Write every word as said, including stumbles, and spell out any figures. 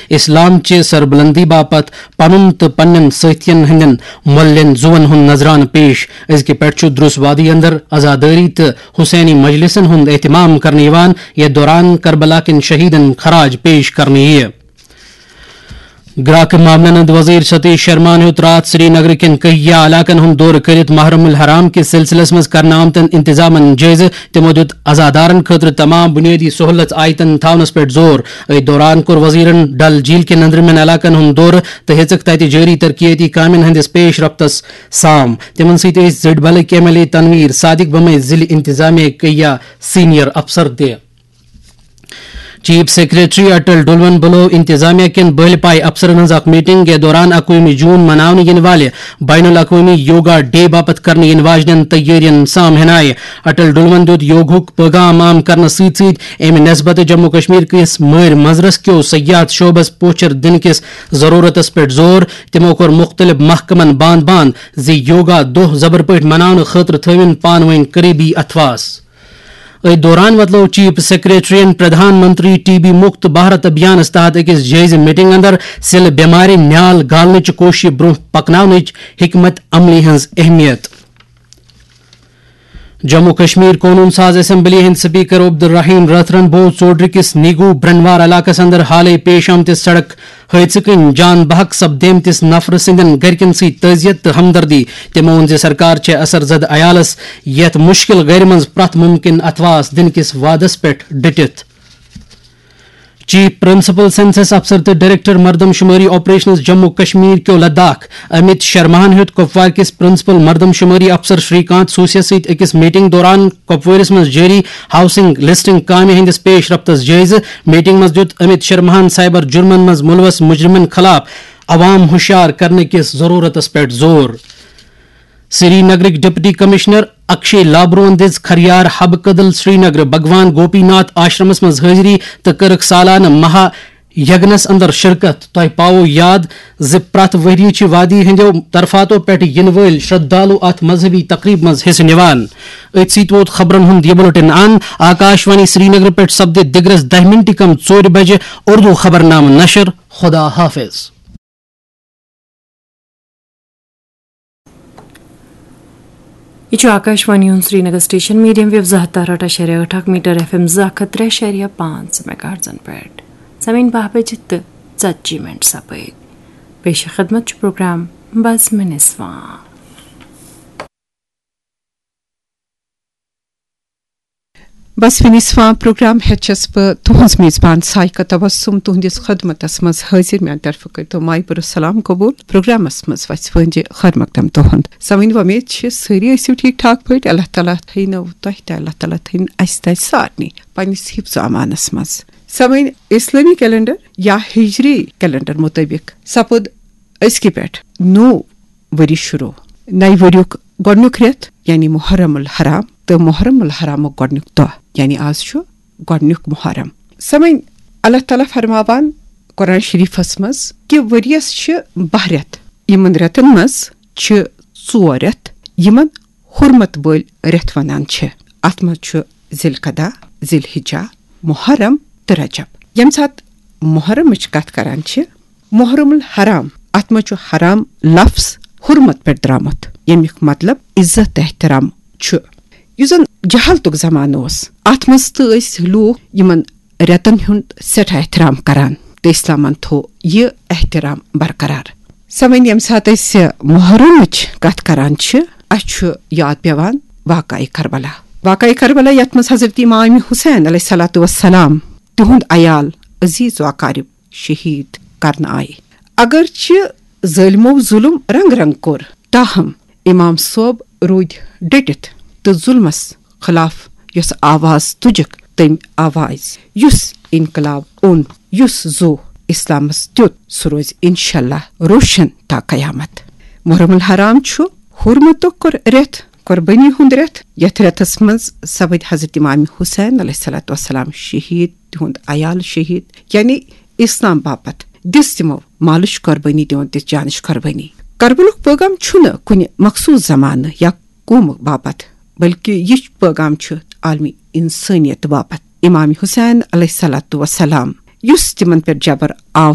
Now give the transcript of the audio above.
اسلام چہِ سربلندی باپتھ پنُن تہٕ پننٮ۪ن سٲتھین ہٕنٛدٮ۪ن مۄلٮ۪ن زُوَن ہُنٛد نذرانہٕ پیش۔ أزکہِ پٮ۪ٹھ چھُ درُس وادی اندر عزادٲری تہٕ حسینی مجلسن ہُنٛد اہتمام کرنہٕ یِوان، یتھ دوران کربلا کٮ۪ن شہیدن خراج پیش کرنہٕ یِیہِ۔ گراکہٕ معاملن ہُنٛد وزیر ستیش شرماہن ہیوٚت راتھ سری نگر کٮ۪ن کہیا علاقن ہُنٛد دورٕ کٔرِتھ محرم الحرام کِس سلسلس منٛز کرنہٕ آمتٮ۪ن انتظامن جٲیزٕ۔ تِمو دیُت عزادارن خٲطرٕ تمام بنیٲدی سہولژ آیتن تھاونس پٮ۪ٹھ زور۔ أتھۍ دوران کوٚر وزیرن ڈل جھیل کٮ۪ن أنٛدرِمٮ۪ن علاقن ہُنٛد دورٕ تہٕ ہیٚژٕکھ تتہِ جٲری ترقیتی کامٮ۪ن ہٕنٛدِس پیش رفتس سام۔ تِمن سۭتۍ ٲسۍ زٔڈبلٕکۍ ایم ایل اے تنویر صادق بمے، ضلع انتظامیہ کہیا سینئر افسر تہِ۔ چیف سیکرٹری اٹل ڈلون بُلٲو انتظامیہ کٮ۪ن بٔلۍ پایہِ افسرن ہٕنٛز اکھ میٹنگ۔ یتھ دوران اکوُہمہِ جون مناونہٕ یِنہٕ والہِ بین الاقوٲمی یوگا ڈے باپتھ کرنہٕ یِنہٕ واجنٮ۪ن تیٲرین سام ہینایہِ۔ اٹل ڈلون دیُت یوگہُک پیغام عام کرنس سۭتۍ سۭتۍ امہِ نسبتہٕ جموں کشمیر کِس مٲرۍ منظرس کیو سیاحت شعبس پوچھر دِنہٕ کِس ضرورتس پٮ۪ٹھ زور۔ تِمو کوٚر مُختٔلِف محکمن باند باند زِ یوگا دۄہ زبر پٲٹھۍ مناونہٕ خٲطرٕ تھٲوِن پانہٕ ؤنۍ قریبی اتھواس۔ أتھۍ دوران وۄتلٲو چیف سیکرٹریَن پردھان منتری ٹی بی مُکت بھارت ابھیانَس تحت أکِس جٲیزٕ میٹنگ اندر سِلہٕ بٮ۪مارِ نیال گالنٕچ کوٗششہِ برٛونٛہہ پکناونٕچ حکمت عملی ہٕنٛز اہمیت۔ جموں کشمیر قونوٗن ساز اسمبلی ہٕنٛدۍ سپیکر عبدالرحیم رٲتھرَن بوو ژوڈرِ کِس نیگو برنوار علاقَس اندر حالٕے پیش آمتِس سڑک حٲدثہٕ کِنۍ جان بحق سپدیمتِس نفرٕ سٕنٛدٮ۪ن گرِکٮ۪ن سۭتۍ تعزیت تہٕ ہمدردی۔ تِمو ووٚن زِ سرکار چھےٚ اثر زدٕ عیالَس یَتھ مُشکِل گرِ منٛز پرٛٮ۪تھ مُمکِن اتھواس دِنہٕ کِس وعدس پٮ۪ٹھ ڈٔٹِتھ۔ چیف پرنسپل سینسس افسر تہٕ ڈائریکٹر مردم شماری آپریشنز جموں کشمیر کیو لداخ امیت شرماہن ہیوٚت کپوار کِس پرنسپل مردم شماری افسر شری کانت سوسیہ سۭتۍ أکِس میٹنگ دوران کپوٲرِس منٛز جٲری ہاؤسنگ لسٹنگ کامہِ ہٕنٛدِس پیش رفتس جٲیزٕ۔ میٹنگ منٛز دیُت امیت شرماہن سائبر جرمن منٛز ملوث مجرمن خلاف عوام ہوشیار کرنہٕ کِس ضرورتس پٮ۪ٹھ زور۔ سری نگرٕکۍ ڈپٹی کمشنر اکشے لابروہن دِژ کھریار حب کدل سری نگر بھگوان گوپی ناتھ آشرمس منٛز حٲضری تہٕ کٔرٕکھ سالانہٕ مہا یگنس اندر شرکت۔ تۄہہِ پاوو یاد زِ پرٛٮ۪تھ ؤریہِ چھِ وادی ہٕنٛدیو طرفاتو پٮ۪ٹھ یِنہٕ وٲلۍ شردھالو اتھ مذہبی تقریبہِ منٛز حصہٕ نِوان۔ أتھۍ سۭتۍ ووت خبرن ہُنٛد یہِ بُلٹن ان۔ آکاش وانی سری نگر پٮ۪ٹھ سپدِ دِگرس دَہہِ مِنٹہِ کم ژورِ بجہِ اردو خبرنامہٕ نشر۔ خدا حافظ۔ یہِ چھُ آکاش وانی ہُنٛد سرینگر سٹیشن، میڈیم ویو زٕ ہتھ تہٕ ٲٹھ اَشاریہ ٲٹھ اکھ میٹر ایف ایم زٕ اکھ ہتھ ترٛےٚ اَشاریہ پانٛژھ میگاہرٹزن پٮ۪ٹھ۔ سمعین باہ بجہِ تہٕ ژتجی منٹ سپٲرۍ۔ پیش خدمت چھُ پروگرام بزمِ نسواں۔ بس وِنِس فام پروگرام ہیٚچھس بہٕ تُہنٛز میزبان سائقہ تبسم تُہنٛدِس خدمتس منٛز حٲضِر۔ میانہِ طرفہٕ کٔرۍتو مایہِ بٔرٕ سلام قبول۔ پروگرامس منٛز وژھِ وٲنجہِ خٲر مقدم تُہنٛد۔ سمعین، وۄمید چھِ سٲری ٲسِو ٹھیٖک ٹھاک پٲٹھۍ۔ اللہ تعالیٰ تھٲینو تۄہہِ تہِ، اللہ تعالیٰ تھٲینو اسہِ تہِ سارنٕے پننِس حفظ و امانس منٛز۔ سمعین، اسلٲمی کیلنڈر یا ہجری کیلنڈر مطٲبق سپُد أزکہِ پٮ۪ٹھ نوٚو ؤری شروع۔ نَیہِ ؤریُک گۄڈٕنیُک رٮ۪تھ یعنی محرم الحرام تہٕ محرم الحرامُک گۄڈٕنیُک دۄہ یعنی آز چھُ گۄڈٕنیُک محرم۔ سمعین، اللہ تعالیٰ فرماوان قرآن شریفس منٛز کہِ ؤریَس چھِ باہ رٮ۪تھ، یِمن رٮ۪تن منٛز چھِ ژور رٮ۪تھ یِمن حرمت وٲلۍ رٮ۪تھ ونان چھِ۔ اتھ منٛز چھُ ذی القعدہ، ذی الحجہ، محرم تہٕ رجب۔ ییٚمہِ ساتہٕ محرمٕچ کتھ کران چھِ، محرم الحرام، اتھ منٛز چھُ حرام لفظ حرمت پٮ۪ٹھ درامُت، ییٚمیُک مطلب عزت تہٕ احترام چھُ۔ یُس زن جہالتُک زمانہٕ اوس، اتھ منٛز تہٕ ٲسۍ لوٗکھ یِمن رٮ۪تن ہُنٛد سٮ۪ٹھاہ احترام کران تہٕ اسلامن تھوو یہِ احترام برقرار۔ سمعین، ییٚمہِ ساتہٕ أسۍ محرمٕچ کتھ کران چھِ، اسہِ چھُ یاد پٮ۪وان واقعہ کربلا۔ واقعہ کربلا یتھ منٛز حضرت امام حسین علیہ الصلوۃ والسلام، تِہُنٛد عیال، عزیز و اقارب شہید کرنہٕ آیہِ۔ اگرچہِ ظٲلمو ظلم رنگ رنگ کوٚر، تاہم امام صٲب روٗدۍ ڈٔٹِتھ تہٕ ظلمس خلاف یۄس آواز تُجکھ، تٔمۍ آواز یُس انقلاب اوٚن، یُس زو اسلامس دیُت، سُہ روزِ انشاءاللہ روشن تا قیامت۔ محرم الحرام چھُ حرمتُک رٮ۪تھ، قربٲنی ہُنٛد رٮ۪تھ۔ یتھ رٮ۪تس منٛز سپٕدۍ حضرت امام حسین علیہ الصلوۃ والسلام شہید، تِہُنٛد عیال شہید، یعنی اسلام باپتھ دِژ تِمو مالٕچ قربٲنی، تِمو دِژ جانٕچ قربٲنی۔ کربلُک پیغام چھُنہٕ کُنہِ مخصوص زمانہٕ یا قومہٕ باپتھ، بلکہِ یہِ پیغام چھُ عالمی انسٲنیت باپتھ۔ امام حسین علیہ الصلوۃ والسلام، یُس تِمن پٮ۪ٹھ جبر آو